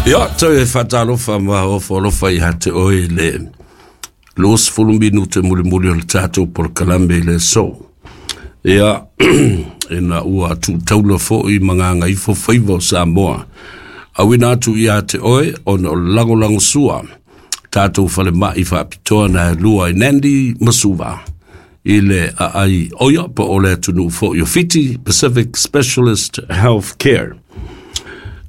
Ia, toe faatalofa ma ofo alofa ia te oe i le 20 minute mulimuli o le tatou polokalame i le aso. Ia, ina ua tuutaula foi ma gagaifo faiva o Samoa. Auina atu ia te oe ona o le lagolagosua tatou falemai faapitoa na e lua i Nandi ma Suva i le aai oia po o le atunuu foi o Fiti Pacific Specialist Health Care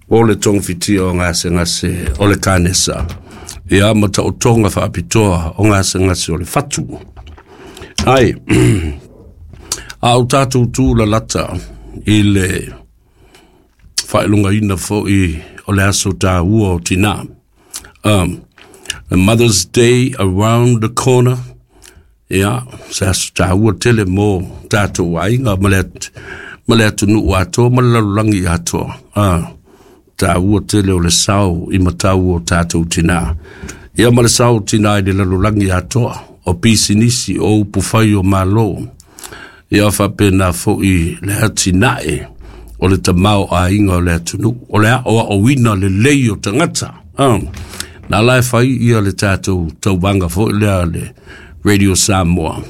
o le togafitia o gasegase o le kanesa ia ma taotoga faapitoa o gasegase o le fatu. Ai, a o tatou tu lalata i le faailogaina foi o le aso taua o tinā. Mother's Day around the corner. Ia, se aso taua tele mo tatou aiga ma le, ma le atunuu atoa ma le lalolagi atoa. Taua tele o le sao i matau o tatou tinā. Ia ma le sao o tinā i le lalolagi atoa, o pisinisi, o upufai o Malo. Ia faapena foi le atinae o le tamaoaiga o le atunuu, o le aoaoina lelei o tagata. Na la e fai ia le tatou tauvaga foi lea le Radio Samoa.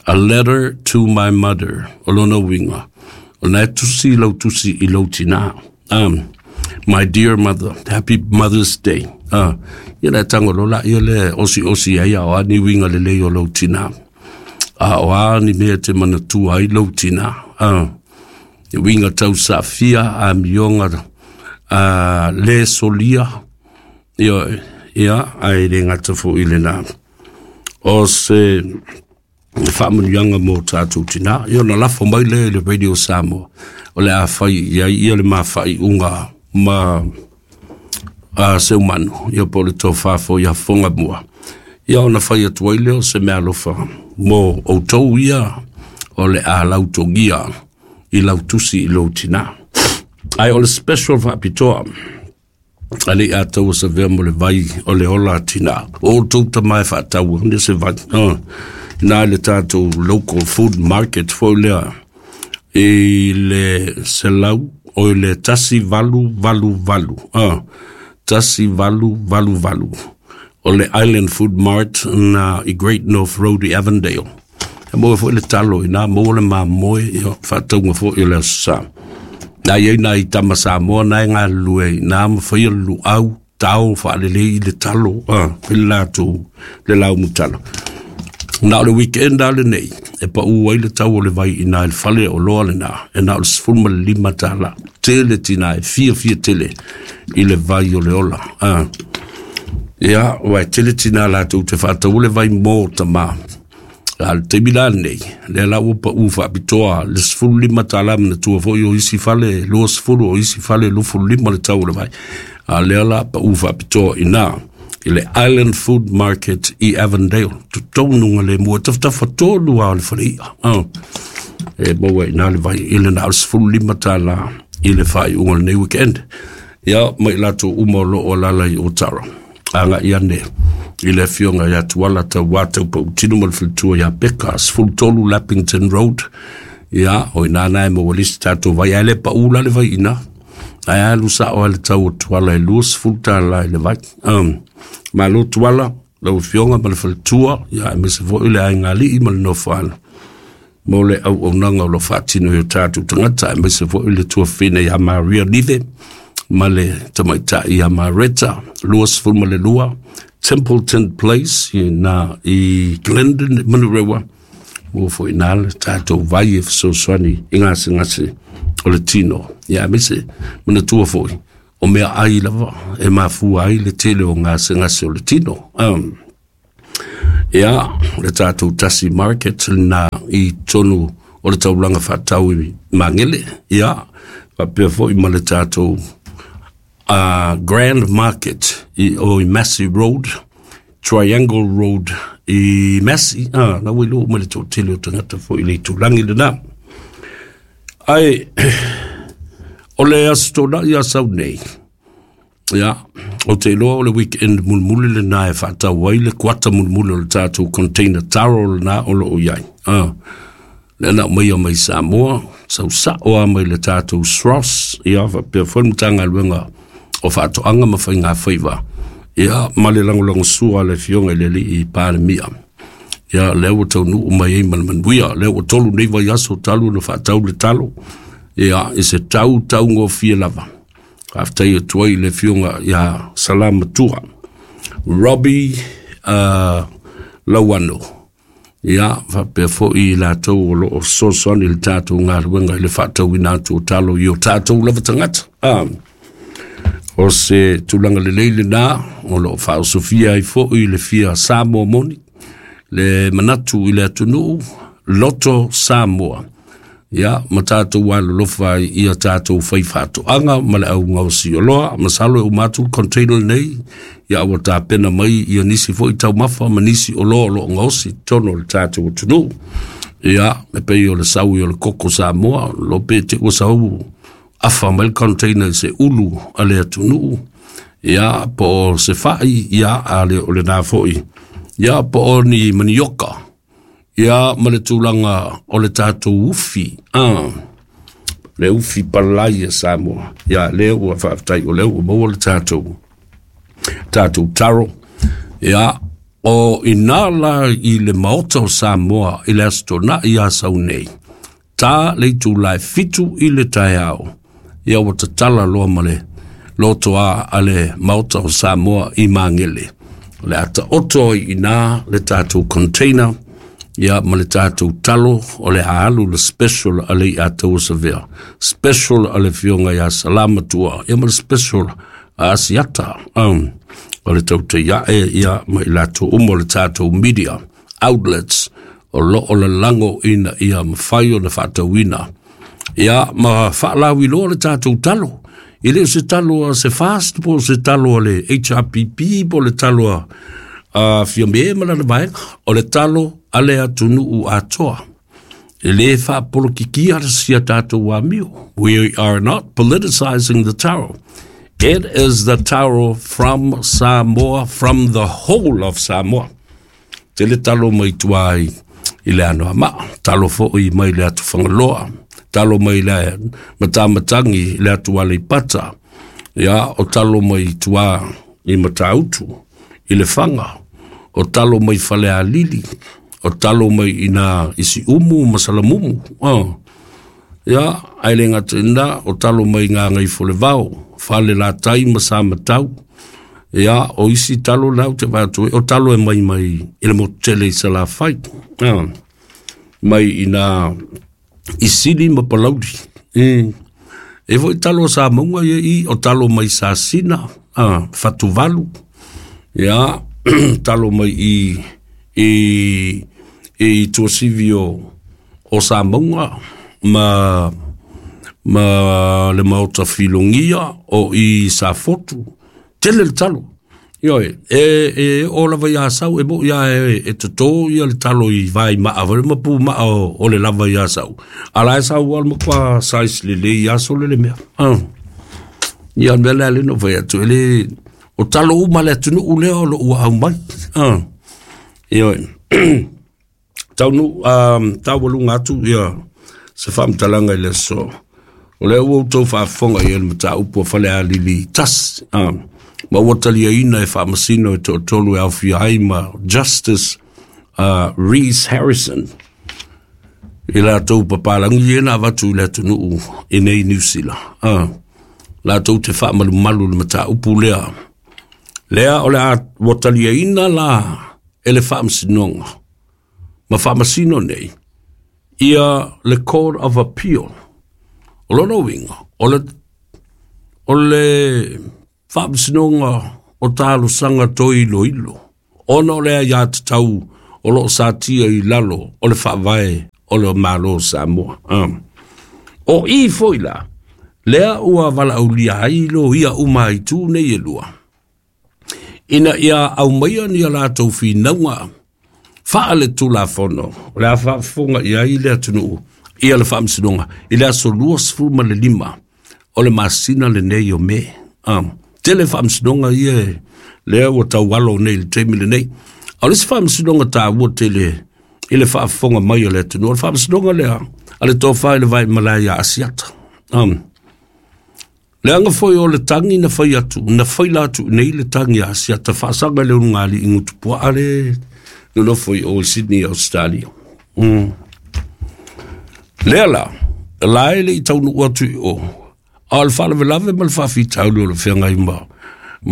A letter to my mother, o lona uiga, o lena e tusi lau tusi i lou tinā. My dear mother, happy Mother's Day. Ia le tago lola ia le osi osi ai a o a ni uiga lelei o lou tinā. A o a ni mea e te manatua ai lou tinā. E uiga tausaafia, amioga le solia, ia, ia, ae le gata foi i lena. O se faamanuiaga mo tatou tinā. Ia ona lafo mai lea i le Radio Samoa, o le a fai i ai ia le mafaaiuga ma Seumanu, ia po o le tofa foi ia Fogamua. Ia ona fai atu ai lea o se meaalofa mo outou ia o le a lautogia i lau tusi i lou tinā. Ae o le special faapitoa, a le i ataua savea mo le vai o le ola a tinā. O outou tama e faatau ane se vai. Ina le tatou local food market foi lea i le 100 o i le 1888. 1888. O le Island Food Mart na i Great North Road i Avondale. E maua foi le talo ina, maua le mamoe, ia, faatauga foi o le Aso Sa. Na i ai nai tama Samoa na e galulue i na ma faia le luau, tao faalelei i le talo, fai le latou le laumu talo. Na o le weekend a lenei, e pau ai le tau o le vai ina i le fale o loa lena, e na o le $15. Tele tina e fiafia tele i le vai o le ola. Ia, ua e tele tina latou te faataua le vai mō tama. A le taimi la lenei, lea la ua pau faapitoa le $15 manatua foi o isi fale 20 o isi fale 25 le tau o le vai. A lea la pau faapitoa ina i le Island Food Market i Avondale. Totonu le mua tafatafa tonu a o le fale ia. E maua ina le vai i le na o le $15 i le faaiuga o lenei weekend. Ia, mai latou uma o loo alala i Otara. Agai ane i le afioga ia Tuala Tauā Taupautino ma le faletua ia Peka, 13 Lappington Road. Ia, o ina na e maua lisi tatou vai, ae le pau la le vai ina. Ae alu sao ai le tau o Tuala e $20 i le vai. Malo Tuala, lau afioga ma le faletua, ia aemaise foi le aiga alii ma le nofoalo mo le auaunaga o lo faatino i o tatou tagata, aemaise foi le tuafafine ia Maria Nive ma le tamaitai ia Mareta, 22 Templeton Place i na i Glendon Manurewa, mo foi nā le tatou vai e fesoasoani i gasegase o le tino. Ia aemaise manatua foi o mea ai lava e mafua ai le tele o gasegase o le tino. Ia, le tatou Tasi Market na i tonu o le taulaga faatau i Magele. Ia, faapea foi ma le tatou Grand Market i o i Massey Road, Triangle Road i Massey. Na ua iloa uma le toatele o tagata foi i le itulagi lena. Ae, o le Aso Toonai a sau nei, ia, o te iloa o le weekend mulimuli lena e faatau ai le kuata mulimuli o le tatou container taro lena o loo i ai. Lea na aumaia mai Samoa, sau sao lava mai le tatou SROS, ia faapea foi le Matagaluega o Faatoaga ma Faigafaiva, ia ma le lagolagosua a le Afioga i le Alii Palemia. Ia lea ua taunuu mai ai ma le manuia, lea ua 3 nei vaiaso talu ona faatau le talo, ia i se tau taugofie lava. Faafetai atu ai i le Afioga ia Salamatua Robbie Lauano, ia faapea foi i latou o lo o fesoasoani i le tatou galuega i le faatauina atu o talo i o tatou lava tagata. O se tulaga lelei lena o lo o faaosofia ai foi le fia Samoa moni, le manatu i le atunuu, loto Samoa. Ia, ma tatou alolofa ai ia tatou fai faatoaga ma le au gaosi oloa. Masalo e uma atu le container lenei, ia ua tapena mai ia nisi foi taumafa ma nisi oloa o lo o gaosi i totonu o le tatou atunuu. Ia, e pei o le saui o le koko Samoa, lo pe te ua sau afa mai le container i se ulu a le atunuu, ia, po o se fai, ia, a le o lena foi, ia, po o ni manioka, ia, ma le tulaga o le tatou ufi, le ufi palai a Samoa. Ia, lea ua faafetai o lea ua maua le tatou taro. Ia, o ina la i le maota o Samoa i le Aso Toonai ia sau nei, ta le itula e 7 i le taeao, ia ua tatala loa ma le lotoa a le maota o Samoa i Magele. O le ata oto ai ina le tatou container, ia ma le tatou talo, o le alu le special a le Ataua Savea, special a le Afioga ia Salamatua, ia ma le special a Asiata, o le tautaiae, ia ma i latou uma o le tatou media outlets o lo o lalago ina ia mafai ona faatauina, ia ma faalauiloa le tatou talo. E le o se talo a se fast po o se talo a le HRPP po o le talo a Fiame ma lana vaega, o le talo a le atunuu atoa. E le faapolokikia le sia tatou amio. We are not politicizing the taro. It is the taro from Samoa, from the whole of Samoa. Tele talo mai tua i le Anoamaa, talo foi mai le atu Fagaloa, talo mai le Matamatangi i le atu Aleipata, ia, o talo mai tua i Matautu, i le Faga, o talo mai Falealili, o talo mai ina isi umu ma Salamumu, ia, ai le ngata ina, o talo mai ngā ngai Folevao, Fale Latai ma Samatau, ia, o isi talo lau te vātu, o talo e mai mai i le motu tele i Salafai, mai ina Isili ma Palauli. E foi talo sa maunga ia i, o talo mai Sasina, Fatuvalu, ia, talo mai i Tuasivi o Samoa ma le maota Filogia o i Safotu. Tele le talo. Ioe, e o lava ia sau, e mo ia e toto ia le talo i vai maa, vale ma pu maa o le lava ia sau. Ala e sau al makwa size le le ia so le le mea. Ia mea le ale no vai atu, ele o talo uma le atunu ule o lo ua au mai. Ioe. Tau nu, tau walunga atu ia se whaamtalanga i le so. O le ua tau whaafonga i ele mata upu a whale a lili tas. Ma ua talia ina e whaamasino e tōtolu e awhia ai ma Justice Rees Harrison. I la tau papalangi e nā watu i le atunuu i nei New Zealand. La tau te whaamalumalu le mata upu lea. Lea o le a ua talia ina la e le whaamasinoga. Ma whaamasino nei, ia le Court of Appeal. O lona uiga, o le whaamasinoga o talosaga toiloilo. Ona o lea ia tatau o loo satia i lalo o le whaavae o le Malo Samoa. O i foi la, lea ua valaaulia ai lo ia uma i tū nei e lua. Ina ia au maia ni a latou finauga whaa le tulafono, o le a whaafonga ia i le atunuu, ia le whaamasinoga, i le aso 25 o le masina le nei o me. Tele whaamasinoga ia lea ua taualo nei le taimi le nei. O le se whaamasinoga tāua tele i le whaafonga mai o le atunuu. O le whaamasinoga lea, a le tōwha i le vai malai a Asiata. Leaga foi o le tagi na fai atu, na faila atu i nei le tagi a Asiata faasaga i le ulugalii gutupuaa le nonofo i o i Sydney, Australia. Lea la, la e le i taunuu atu i o, a o le faalavelave ma le faafitauli o le feagai ma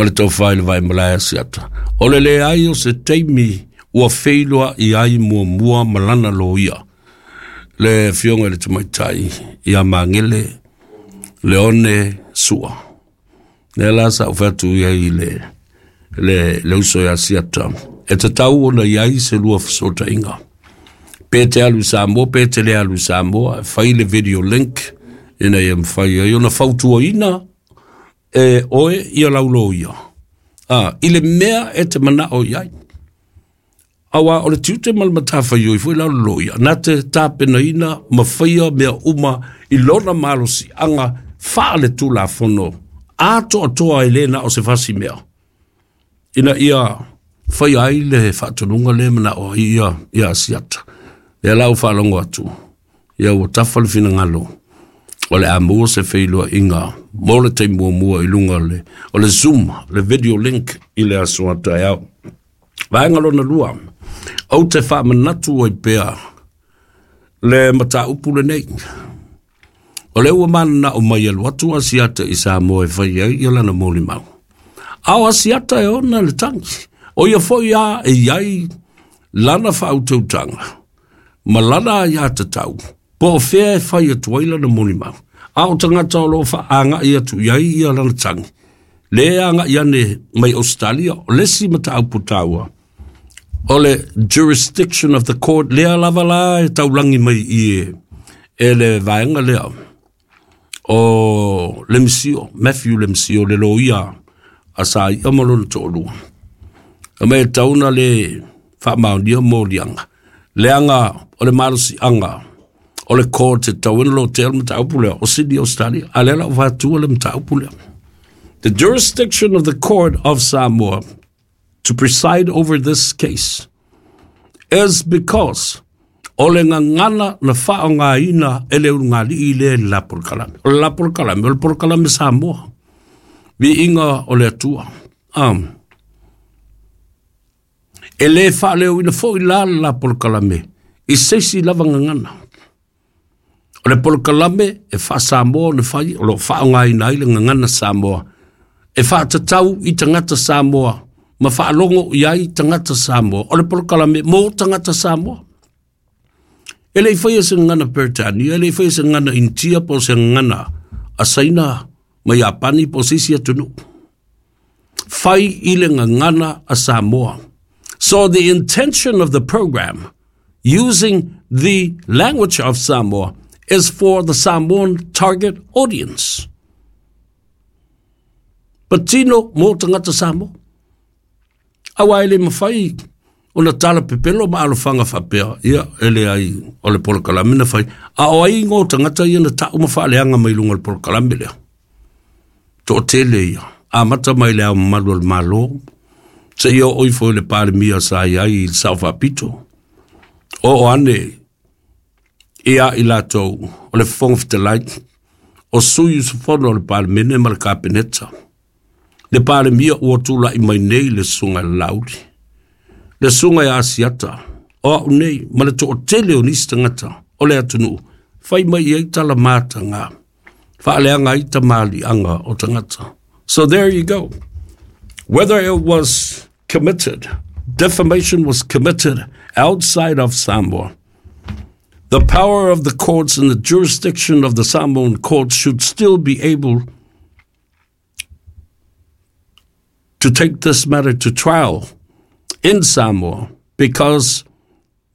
le tofa i le vaimalae Asiata, o le leai o se taimi ua feiloai ai muamua ma lana loia, le afioga i le tamaitai ia Magele Leone Sua. Lea la sa ou fai atu i ai i le uso ia Asiata, e tatau ona i ai se lua fesootaiga. Pe te alu i Samoa, pe te le alu i Samoa, e fai le video link ina ia mafai ai ona fautuaina e oe ia lau loia. I le mea e te manao i ai. Aua o le tiute ma le matafaioi foi la o le loia, na te tapenaina ma faia mea uma i lona malosiaga faale-tulafono atoatoa e le na o se fasi mea, ina ia faia ai le faatonuga le manao ai ia Asiata. Lea la ua faalogo atu, ia ua tafa le finagalo, o le a maua se feiloaiga mo le taimi muamua i luga o le Zoom, le video link i le aso a taeao. Vaega lona lua, ou te faamanatu ai pea le mataupu lenei. O lea ua mananao mai alu atu Asiata i Samoa e fai ai ia lana molimau. A o Asiata e ona le tagi. O ia foi a e iai lana faautautaga ma lana aiatatau, po o fea e fai atu ai lana molimau. A o tagata o lo o faaagai atu i ai ia lana tagi, le agai ane mai Australia, o le isi mataupu taua, o le jurisdiction of the court, lea lava la e taulagi mai i e le vaega lea o Lemisio, Matthew Lemisio, le loia a sa ia ma lona toalua. E mai e tauna le faamaonia moliaga, leaga o le malosiaga o le court e tauina lo te le mataupu lea o Sydney, Australia, a lea la ua fatua le mataupu lea. The jurisdiction of the court of Samoa to preside over this case is because o le gagana na faaaogaina e le ulugalii lea i le la polokalame. O le la polokalame, o le polokalame Samoa. Viiga o le Atua. E le faaleoina foi la le la polokalame i se isi lava gagana. O le polokalame e faa-Samoa ona fai, o lo o faaaogaina ai le gagana Samoa. E faatatau i tagata Samoa ma faalogo i ai tagata Samoa. O le polokalame mo tagata Samoa. E le i faia se gagana Peretania, e le i faia se gagana Initia po o se gagana a Saina ma Iapani po o se isi atunuu. Fai i le gagana a Samoa. So the intention of the program, using the language of Samoa, is for the Samoan target audience. Patino mo tagata Samoa. Aua e le mafai ona tala pepelo ma alofaga faapea, ia e leai o le polokalame na fai. A o ai igoa o tagata ia na tau ma faaleaga mai luga o le polokalame lea. Toatele ia, amata mai le Ao Mamalu o le Malo, seia oo ifo i le Palemia sa i ai i le Sao Faapito. Oo ane ia i latou o le Fofoga Fetalai, o sui usufono o le Palemene ma le Kapeneta. Le Palemia ua tulai mai nei le susuga i le Laauli, le susuga ia Asiata, o au nei ma le toatele o nisi tagata o le atunuu, fai mai i ai tala mataga, faaleaga ai tamaliiaga o tagata. So there you go. Whether it was committed, defamation was committed outside of Samoa, the power of the courts and the jurisdiction of the Samoan courts should still be able to take this matter to trial in Samoa because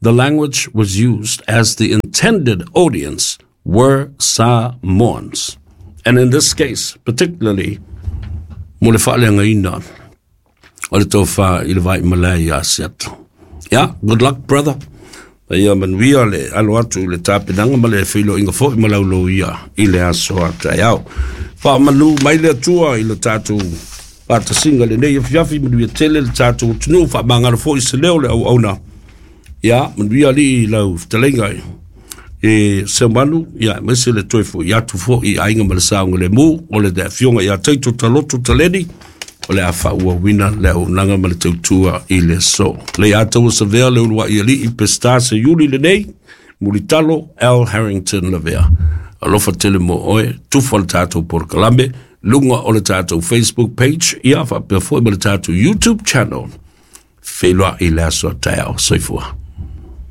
the language was used as the intended audience were Samoans. And in this case, particularly, mo le faaleagaina o le tofa i le vaimalae ia Asiata. Yeah, good luck, brother. Ia manuia le alo atu i le tapenaga ma le feiloaiga foi ma lau loia i le aso a taeao. Faamanu mai le Atua i le tatou faatasiga lenei afiafi, manuia tele le tatou atunuu, faamagalo foi se leo le auauna. Ia, manuia alii i lau fetalaiga E Seumanu, ia aemaise le toe fo'i atu fo'i i aiga ma le saogalemu o le afioga ia Taito Taloto Taleni, o le a faaauauina le auaunaga ma le tautua i le aso. Leiataua Savea le uluai alii Peseta Seiuli lenei, Mulitalo L. Harrington Lavea. Alofa tele mo oe, tufa le tatou polokalame, luga o le tatou Facebook page, ia faapea foi ma le tatou YouTube channel. Feiloai i le aso a taeao. Soifua.